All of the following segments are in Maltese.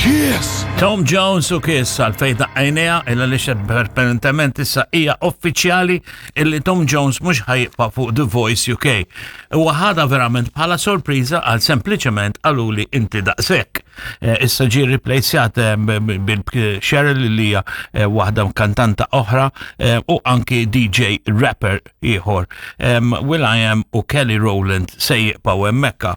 Kiss! Tom Jones u Kiss għalfejn daqqajnija illa li apparentement issa hija uffiċjali illi Tom Jones mhux ħajibqa' fuq The Voice UK. Huwa ħadha verament bħala sorpriża għal sempliċement qaluli inti daqshekk. Eh, issa ġie riplejsjat eh, bil-Cheryl li hija eh, waħda kantanta oħra u anki DJ rapper ieħor. Will I Am u Kelly Rowland se jibqgħu hemmhekk.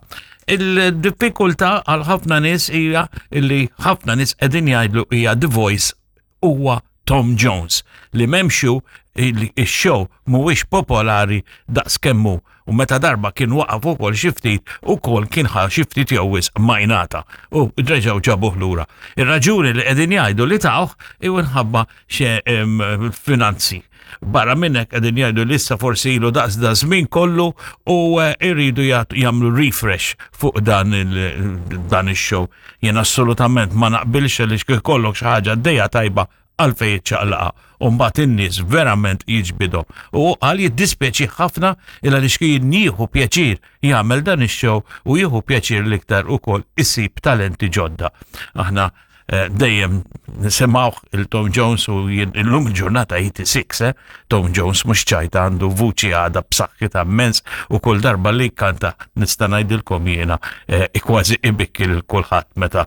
Il-diffikultà għal ħafna nies hija li ħafna nies qegħdin jgħidlu hija The Voice huwa Tom Jones li memxu il-show mhuwiex popolari daqs kemmu u meta darba kien waqaf ukoll xi ftit ukoll kien ħa xi ftit jew wisq majnata u reġgħu ġabuh lura. Ir-raġuni li qegħdin jgħidu li tawh inħabba xe finanzi. Barra minnek qegħdin jgħidu li issa forsi ilu daqs da żmien kollu u eh, irridu jagħmlu refresh fuq dan dan ix-show. Jien assolutament ma naqbilx li kollok xi ħaġa dejja tajba għalfej iċċaqlaqa u mbagħad in-nies verament jiġbidhom. U qal jiddispjaċi ħafna il għaliex kien jieħu pjaċir jagħmel dan ix-show u jieħu pjaċir l-iktar ukoll isib talenti ġodda. Aħna Eh, dejjem nisimgħu il-Tom Jones u illum il-ġurnata 86, eh? Tom Jones mhux ċajta għandu vuċi għada b'saħħitha immens u kull darba li kanta nista' ngħidilkom jiena eh, kważi ibikki lil kulħadd meta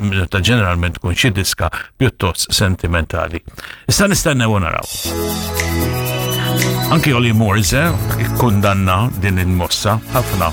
meta ġeneralment tkun xi diska pjuttost sentimentali. Issa nistennew u naraw. Anki Oli Moores eh, ikkundanna din il-mossa ħafna.